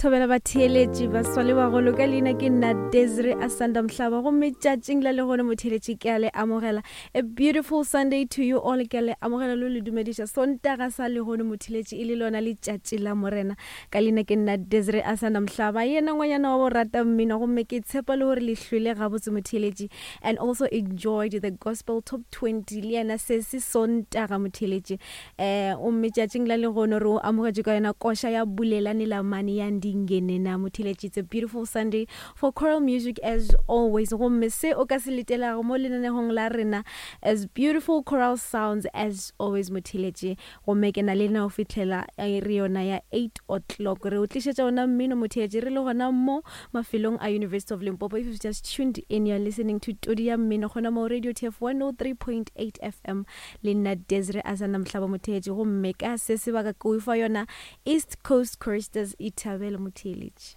Thobela batheeletši, baswa le bagolo, ka leina ke nna Desiree Asanda Mhlaba, gomme tšatšing la lehono motheeletši ke a le amogela. A beautiful Sunday to you all, ke a le amogela le le dumediša Sontaga sa lehono motheeletši e le lona letšatši la Morena. Ka leina ke nna Desiree Asanda Mhlaba, yena ngwanyana wa borata mmino, gomme ke tshepa le gore le hlwele gabotse motheeletši and also enjoyed the gospel top 20 le yena se se Sontaga motheeletši. Eh, gomme tšatšing la lehono re o amogetše ka yona koša ya Bulelani Lamani ya Ndingenena Motheletši. It's a beautiful Sunday for choral music as always. Gomme se o ka se letelago mo lenanegong la rena as beautiful choral sounds as always Motheletši. Gomme ke na le lena go fihlela re yona ya 8 o'clock. Re o tlišetša ona mmino Motheletši re le gona mo mafelong a University of Limpopo. If you've just tuned in, you're listening to Todi ya Mmino gona mo Radio TF 103.8 FM. Le nna Desiree Asanda Mohlaba Motheetši, gomme ka se sebaka ke o fa yona East Coast Choristers. Ithabele motheeletši.